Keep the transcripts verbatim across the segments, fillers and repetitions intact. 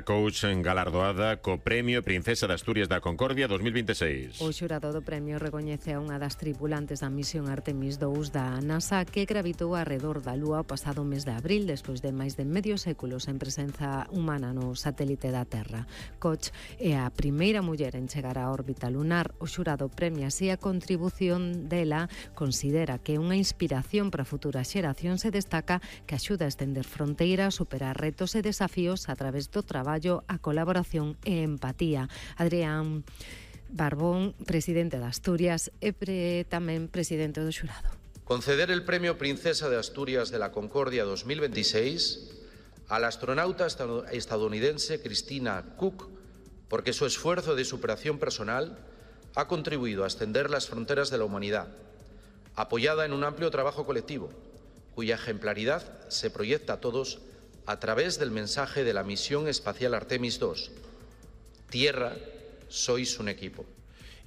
a coach galardoada co Premio Princesa de Asturias da Concordia dos mil veintiséis. O xurado do premio recoñece a unha das tripulantes da misión Artemis dous da NASA que gravitou arredor da Lúa o pasado mes de abril despois de máis de medio século sen presenza humana no satélite da Terra. Koch é a primeira muller en chegar á órbita lunar. O xurado premia así a contribución dela, considera que é unha inspiración para futuras xeracións e destaca que axuda a estender fronteiras, superar retos e desafíos a través do traballo, a colaboración e empatía. Adrián Barbón, presidente de Asturias e pre, tamén presidente do xurado. Conceder el Premio Princesa de Asturias de la Concordia dos mil veintiséis a la astronauta estadounidense Christina Koch, porque su esfuerzo de superación personal ha contribuido a extender las fronteras de la humanidad, apoyada en un amplio trabajo colectivo, cuya ejemplaridad se proyecta a todos a través del mensaje de la misión espacial Artemis dos. Tierra, sois un equipo.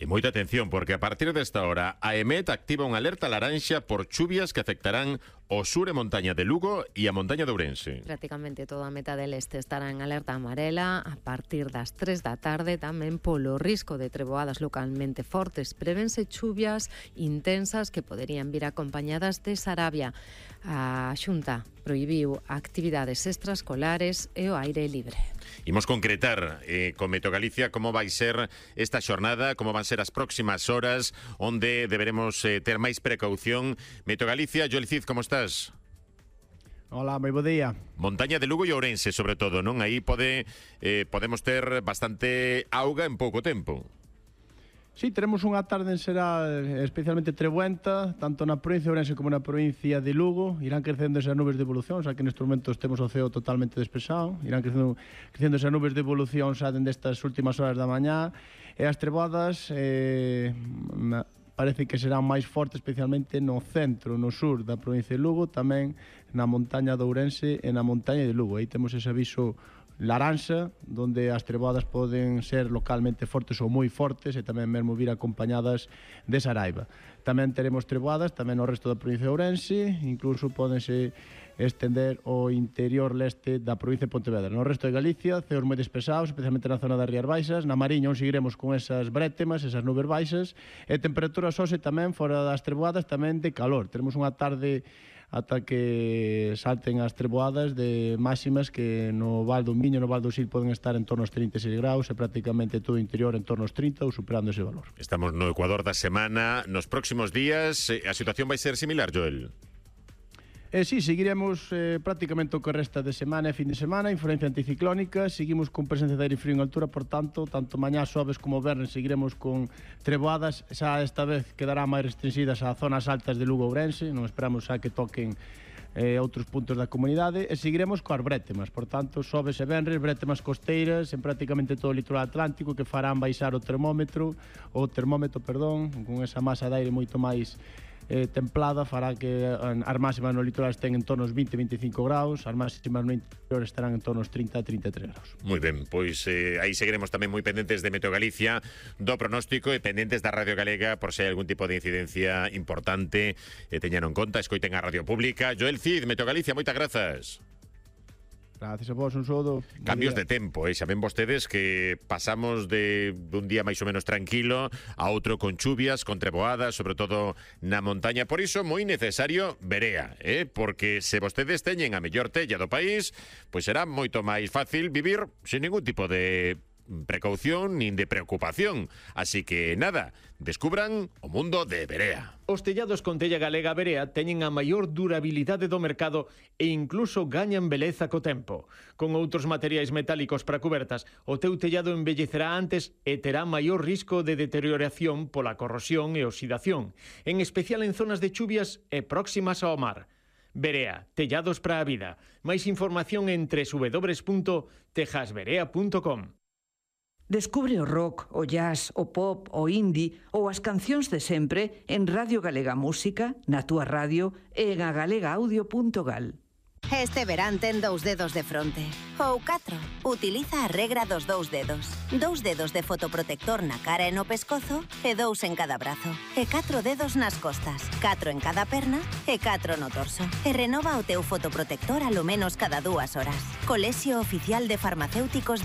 E moita atención, porque a partir desta hora a EMET activa unha alerta laranxa por chuvias que afectarán o sur e montaña de Lugo e a montaña de Ourense. Prácticamente toda a meta del este estará en alerta amarela a partir das tres da tarde, tamén polo risco de treboadas localmente fortes. Prevense chuvias intensas que poderían vir acompañadas de sarabia. A Xunta prohibiu actividades extraescolares e o aire libre. Imos concretar eh, con Meteo Galicia como vai ser esta xornada, como van ser as próximas horas, onde deberemos eh, ter máis precaución. Meteo Galicia, Joel Cid, como estás? Hola, moi bo día. Montaña de Lugo e Ourense, sobre todo, non? Aí pode, eh, podemos ter bastante auga en pouco tempo. Sí, teremos unha tarde en xeral especialmente trebuenta, tanto na provincia de Ourense como na provincia de Lugo. Irán crecendo esas nubes de evolución, xa que nestes momentos temos o ceo totalmente despexado. Irán crecendo, crecendo esas nubes de evolución xa dende estas últimas horas da mañá. E as treboadas eh, parece que serán máis fortes, especialmente no centro, no sur da provincia de Lugo, tamén na montaña de Ourense e na montaña de Lugo. Aí temos ese aviso laranxa, donde as treboadas poden ser localmente fortes ou moi fortes e tamén mesmo vir acompañadas de saraiva. Tamén teremos treboadas tamén no resto da provincia de Ourense, incluso podense estender ao interior leste da provincia de Pontevedra. No resto de Galicia, ceos moi despesados, especialmente na zona das Rías Baixas. Na Mariña onde seguiremos con esas brétemas, esas nubes baixas, e temperaturas hoxe tamén fora das treboadas tamén de calor. Teremos unha tarde ata que salten as treboadas de máximas que no Val do Miño, no Val do Sil poden estar en torno aos trinta e seis graus e prácticamente todo o interior en torno aos trinta ou superando ese valor. Estamos no Ecuador da semana. Nos próximos días a situación vai ser similar, Joel? Eh, sí, seguiremos eh, prácticamente o que resta de semana e fin de semana, influencia anticiclónica, seguimos con presencia de aire frío en altura, por tanto, tanto mañá, xoves como vernes seguiremos con treboadas, xa esta vez quedará máis restringidas a zonas altas de Lugo e Ourense, non esperamos xa que toquen eh, outros puntos da comunidade, e seguiremos coas brétemas, por tanto, xoves e venres, brétemas costeiras en prácticamente todo o litoral atlántico que farán baixar o termómetro, o termómetro, perdón, con esa masa de aire moito máis Eh, templada, fará que as máximas no litoral estén en torno aos vinte a veinticinco graus, as máximas no interior estarán en torno aos trinta a trinta e tres graus. Moi ben, pois eh, aí seguiremos tamén moi pendentes de Meteo Galicia, do pronóstico e pendentes da Radio Galega por se hai algún tipo de incidencia importante, eh, teñan en conta, escoiten a Radio Pública. Joel Cid, Meteo Galicia, moitas grazas. Gracias a vos, un saúdo. Cambios de tempo, eh? Xa ven vostedes que pasamos de un día máis ou menos tranquilo a outro con chuvias, con treboadas, sobre todo na montaña. Por iso, moi necesario verea, eh? Porque se vostedes teñen a mellor tella do país, pois será moito máis fácil vivir sin ningún tipo de precaución nin de preocupación. Así que nada, descubran o mundo de Verea. Os tellados con tella galega Verea teñen a maior durabilidade do mercado e incluso gañan beleza co tempo. Con outros materiais metálicos para cubertas, o teu tellado envellecerá antes e terá maior risco de deterioración pola corrosión e oxidación, en especial en zonas de chuvias e próximas ao mar. Verea, tellados para a vida. Máis información en doble u doble u doble u punto tejasverea punto com. Descubre o rock, o jazz, o pop, o indie ou as cancións de sempre en Radio Galega Música, na túa radio e en agalegaudio punto gal. Este verán ten dous dedos de fronte. Ou catro. Utiliza a regra dos dous dedos. Dous dedos de fotoprotector na cara e no pescozo e dous en cada brazo. E catro dedos nas costas. Catro en cada perna e catro no torso. E renova o teu fotoprotector alo menos cada dúas horas. Colexio Oficial de Farmacéuticos